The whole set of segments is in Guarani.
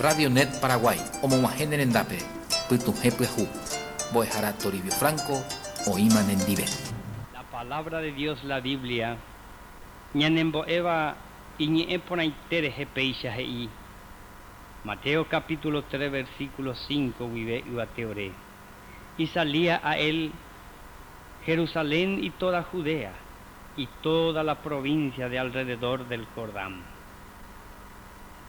Radio Net Paraguay omog̃uahẽ ne rendápe pytuhẽ pyahu. Mbo'ehára Toribio Franco oĩma nendive. La palabra de Dios la Biblia ñanembo'éva iñe'ẽ porãite rehe péicha he'i, Mateo capítulo 3 versículo 5 guive yvate ore. Y salía a él Jerusalén y toda Judea y toda la provincia de alrededor del Jordán.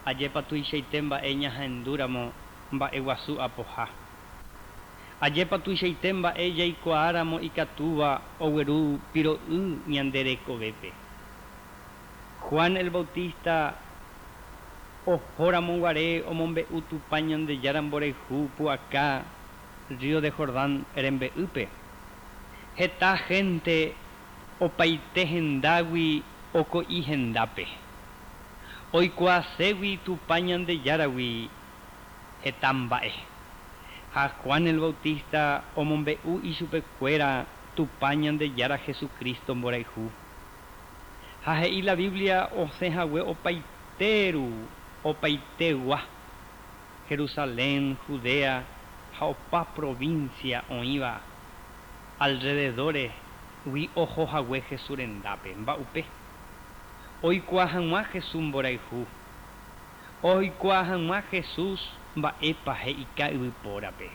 Ajépa tuichaite mba'e ñahendúramo mba'eguasu apoha. Ajépa tuichaite mba'e jaikuaáramo ikatúva ogueru piro'y ñande rekovépe. Juan el Bautista ohóramo guare omombe'u Tupã Ñandejára mborayhu pu'aka río de Jordán rembe'ýpe. Heta hénte opaite hendágui oko'i hendápe. Oikuaaségui Tupã Ñandejáragui heta mba'e. Ha Juan el Bautista omombe'u ichupekuéra Tupã Ñandejára Jesucristo mborayhu. Ha he'i la Biblia osẽhague opaiteru opaitegua, Jerusalén, Judea ha opa provincia oĩva alrededores gui ohohague Jesús rendápe. Mba'upe? Oikuaa hag̃ua Jesús mborayhu. Oikuaa hag̃ua Jesús mba'épa he'ika yvypórape.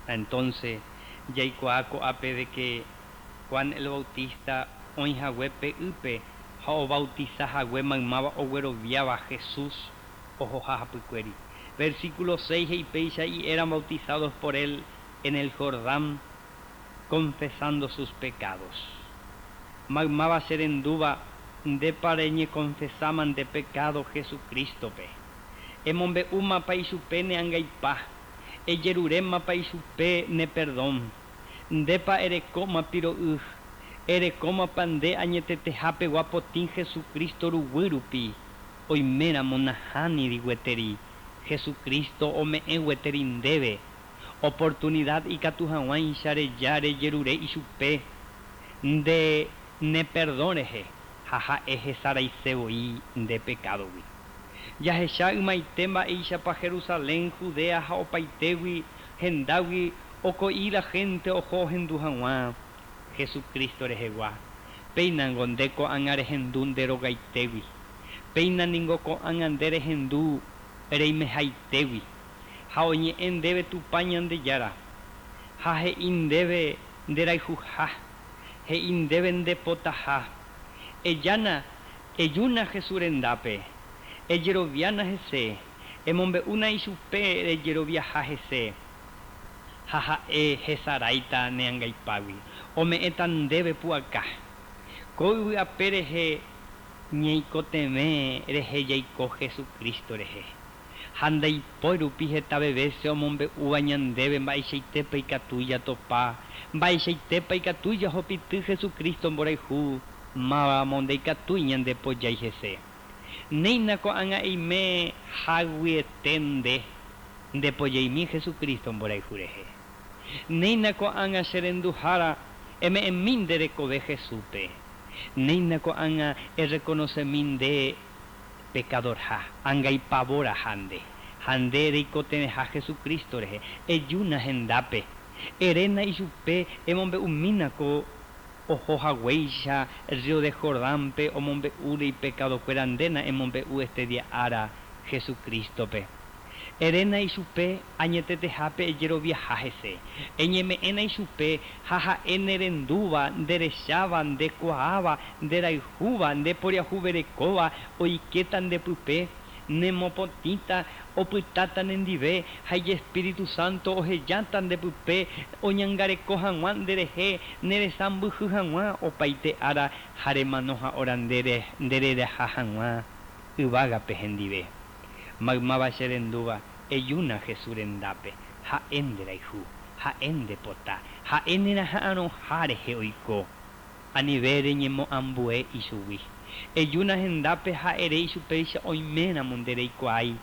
Entonces, jaikuaa ko'ápe de que Juan el Bautista oĩhague pe ýpe ha obautizahague maymáva ogueroviáva Jesús ohoha hapykuéri. Versículo 6 he'i péicha y eran bautizados por él en el Jordán confesando sus pecados. Maymáva cherendúva ndépa reñeconfesáma nde pecado Jesucristo-pe. Emombe'úmapa ichupe ne angaipa, ejerurémapa ichupe ne perdón. Ndépa erekóma piro'y, erekómapa nde añetetehápegua potĩ Jesucristo ruguy rupi, oiméramo nahániri gueteri Jesucristo ome'ẽ gueteri ndéve oportunidad ikatu hag̃uáicha reja rejerure ichupe nde ne perdón rehe ha ha'e hesaraise voi nde pecadogui. Jahecha ymaite mba'éichapa Jerusalén, Judea ha opaitégui hendágui oko'i la gente oho ohendu hag̃ua Jesucristo rehegua. Péinango nde ko'ág̃a rehendu nde rogaitégui. Péina ningo ko'ág̃a nde rehendu reimehaitégui. Ha oñe'ẽ ndéve Tupã Ñandejára. Ha he'i ndéve nderayhuha. He'i ndéve ndepotaha. Ejána, ejúna Jesús rendápe. Ejeroviána hese. Emombe'úna ichupe rejeroviaha hese. Ha ha'e hesaráita ne angaipágui. Ome'ẽta ndéve pu'aka. Ko yvy ape rehe ñeikotevẽ rehe jaiko Jesucristo rehe. Ha ndaipói rupi hetave vése omombe'úva ñandéve mba'eichaitépa ikatu jatopa, mba'eichaitépa ikatu jahupyty Jesucristo mborayhu, mávamo ndaikatúi ñandepojái hese. Néina ko'ág̃a eime haguiete nde, ndepojaimi Jesucristo mborayhu rehe. Néina ko'ág̃a che renduhára eme'ẽmi nde rekove Jesúspe. Néina ko'ág̃a erreconocermi nde pecadorha, angaipavoraha nde, ha nde reikotevẽha Jesucristo rehe, ejúna hendápe. Eréna ichupe emombe'umína ko ohohaguéicha río de Jordánpe omombe'úre ipecadokuéra ndéna emombe'u este día ára Jesucristo-pe. Eréna ichupe añetetehápe ejeroviaha hese. Eñeme'ẽna ichupe ha ha'e nerendúva, nderecháva, ndekuaáva, nderayhúva, ndeporiahuverekóva, oikéta ndepype, nemopotĩta, opytáta nendive ha Ijespíritu Santo ohejáta ndepype oñangareko hag̃ua nderehe neresãmbyhy hag̃ua opaite ára ha remano ha'óra ndereraha hag̃ua yvágape hendive. Maymáva cherendúva ejúna Jesús rendápe, ha'e nderayhu, ha'e ndepota, ha'e neraha'arõha rehe oiko. Anive reñemoambue ichugui. Ejúna hendápe ha ere ichupéicha oiméramo ndereikuaái.